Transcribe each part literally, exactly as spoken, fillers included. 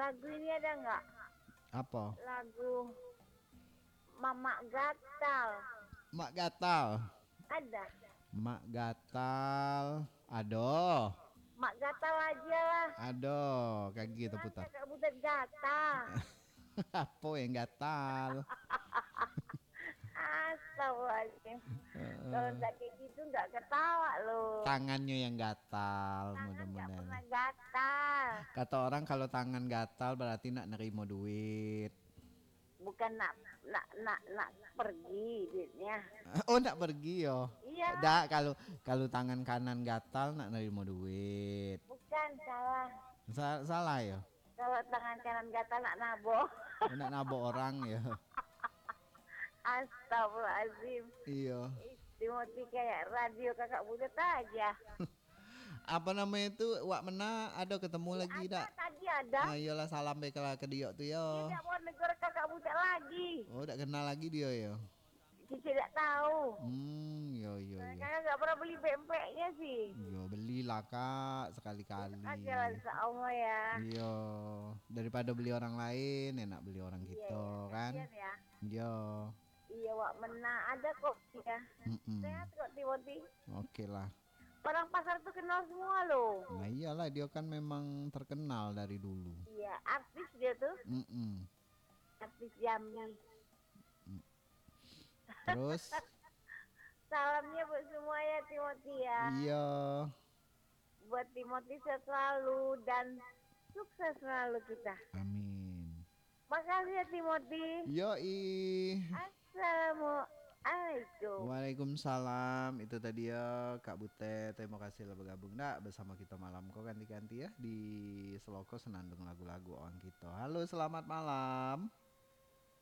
Lagu ini ada nggak? Apa? Lagu Mamak Gatal. Mak Gatal. Ada. Mak Gatal. Ado. Mak Gatal aja lah. Ado. Kagi kita putar. Kakak Butet gatal. Apa yang gatal? Astagfirullahaladzim. Kalau nggak kayak gitu nggak ketawa loh. Tangannya yang gatal, Tangan nggak mudah-mudahan. Pernah gatal. Kata orang kalau tangan gatal berarti nak nerima duit. Bukan nak nak nak nak pergi duitnya. Oh, nak pergi yo. Iya. Dak, kalau kalau tangan kanan gatal nak nerima duit. Bukan, salah. Sa- salah yo. Kalau tangan kanan gatal nak nabok. Nak nabok orang yo. Astagfirullahaladzim. Iyo. Ih, Timothy kayak radio Kakak Butet aja. Apa namanya itu, Wak Mena, ada ketemu lagi Ada, dak? Tadi ada. Ah, iyolah, salam baiklah ke dia tu yo. Dia tidak mau negor Kakak Butet lagi. Oh, dak kenal lagi dia yo. Cici tidak tahu. Hmm, yo yo yo. Kakak nggak pernah beli pempeknya sih. Yo, belilah Kak, sekali-kali. Aja lah, insya Allah ya. Iyo, daripada beli orang lain, enak beli orang Iya, kita iya, kan. Kasihan ya. Yo. Iya, Wak Mena ada kok ya. Mm-mm. Sehat kok Timothy. Oke lah. Orang pasar tuh kenal semua loh. Nah, iyalah, dia kan memang terkenal dari dulu. Iya, artis dia tuh. Mm-mm. Artis Jambi. Terus? Salamnya buat semua ya Timothy ya. Iya. Buat Timothy sehat selalu dan sukses selalu kita. Amin. Makasih ya Timothy. Yoi. Assalamualaikum. Waalaikumsalam. Itu tadi ya Kak Butet. Terima kasih lah bergabung dak bersama kita malam ko, kanti-kanti ya di Seloko Senandung Lagu-Lagu Orang Kita. Halo, selamat malam.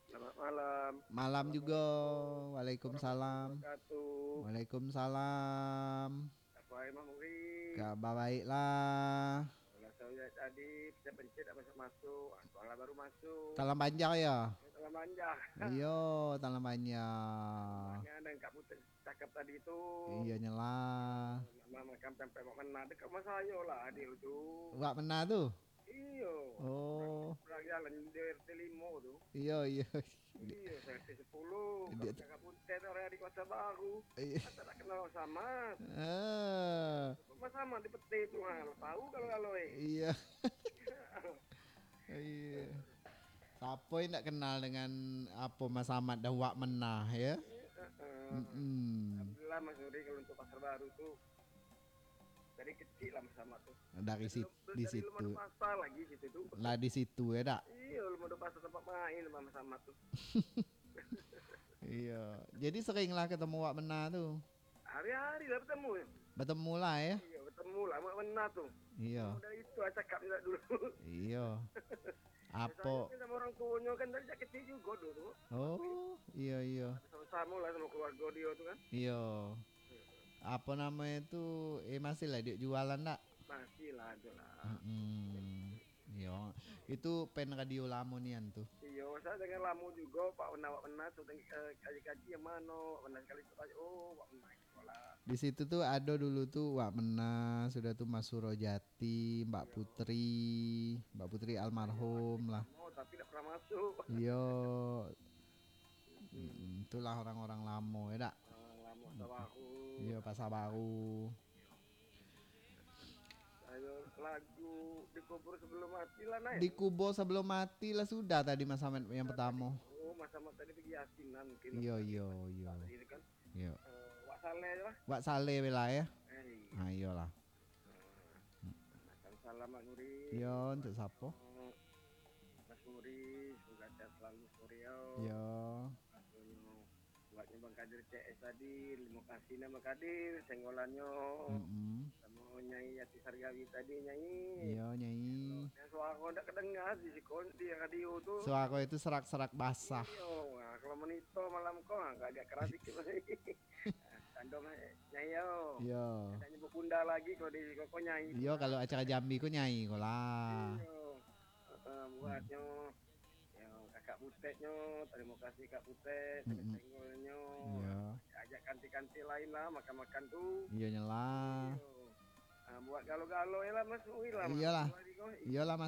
Selamat malam. Malam juga. Waalaikumsalam. Wabarakatuh. Waalaikumsalam. Apa hai Mak Muri? Kabar baiklah. Kalau saya tadi pencet-pencet tak masuk-masuk. Ah, tuan lah baru masuk. Talang Panjang ya? Talang Panjang. Iyo, Talang Panjang. Banyak dan Kak Butet cakap tadi tu. Iyo nyelah. Nama makan pempek Wak Mena dekat rumah saya lah dia tu. Wak Mena tu? Iyo. Oh. Orang jalan di R T lima tu. Iyo, iyo. Iyo, saya R T sepuluh. Dia- Kakak Butet orang di Kota Baru. Iya. Masa tak kenal sama? Ah, Sama di peti tu ha. Tahu kalau-kalau eh. iya. Iya. Siapa yang tak kenal dengan apa Mas Ahmad dan Wak Mena ya? Heeh. Mm-mm. Alhamdulillah Mas Nuri kalau untuk Pasar Baru tu dari kecil lah Mas Ahmad tu. Dari situ, Belum- di dari belum ada situ. pasar lagi situ tu. Lah di situ ya dak? Iya, belum ada pasar tempat main Mas Ahmad tu. Iya. Jadi seringlah ketemu Wak Mena tu. Hari-hari lah bertemu. Bertemu lah ya. Iya, bertemu lah Wak Mena tu. Iya. Dari itu lah cakap juga dulu. Iya. Apa? Saya kan sama orang tuanya kan dari sejak kecil juga dulu. Oh, iya iya. Sama-sama lah sama keluarga dia tu kan. Iya. Apa namanya tu? Eh, masih lah dia jualan tak? Masih lah ada lah. Hmm. Iya. Itu pen radio lamo nian tu. Iya, saya dengar lama juga Pak Wena, Wak Wena tu teng- eh, kaji-kaji yang mana Wak Wena sekali tu tanya, oh Wak Wena sekolah. Di situ tu ada dulu tu Wak Mena, sudah tu Mas Surojati, Mbak Putri, Mbak Putri almarhum lah. Oh, tapi tak pernah masuk. Iyo. Mm, itulah orang-orang lamo ya dak? Ah, lama Pasar Baru. Iyo, Pasar Baru. Ayo lagu Dikubur Sebelum Mati lah, Nay. Dikubur Sebelum Mati lah sudah tadi Mas Ahmad yang pertama. Oh, Mas Ahmad tadi pergi yasinan mungkin. Iyo, iyo, iyo. Tadi kan. Iyo. Eh, Wak Saleh lah. Wak Saleh bela ya. Eh, Ah, iyolah. Makan salam Mak Nuri. Iyo, untuk siapa? Mas Nuri, semoga sehat selalu Mas Nuri yo. Iyo. Buatnya Bang Kadir C S tadi, terima kasih nama Kadir, senggolannyo. Mm-mm. Sama Nyai Ati Sargawi tadi, Nyai. Iyo, Nyai. Yang suara ndak kedengar di sikon di radio tu. Suara itu serak-serak basah. Iyo, nah, kalau monitor malam kau nah, agak keras sikit. Tandong eh, Nyai yo. Iyo. Tak nyebut bunda lagi kalau di koko Nyai. Iyo, kalau acara Jambi ko Nyai ko lah. Iyo. Heeh, buatnyo. Yo, kakak Butetnyo, terima kasih Kak Butet, Mm-mm. senggolnyo. Iyo. Ajak kanti-kanti lain lah makan-makan tu. Iyo nyelah. Iyo. Ah, buat galo-galo je lah Mas Ui lah. Iyolah. Mas Ui ko. Iyolah Mas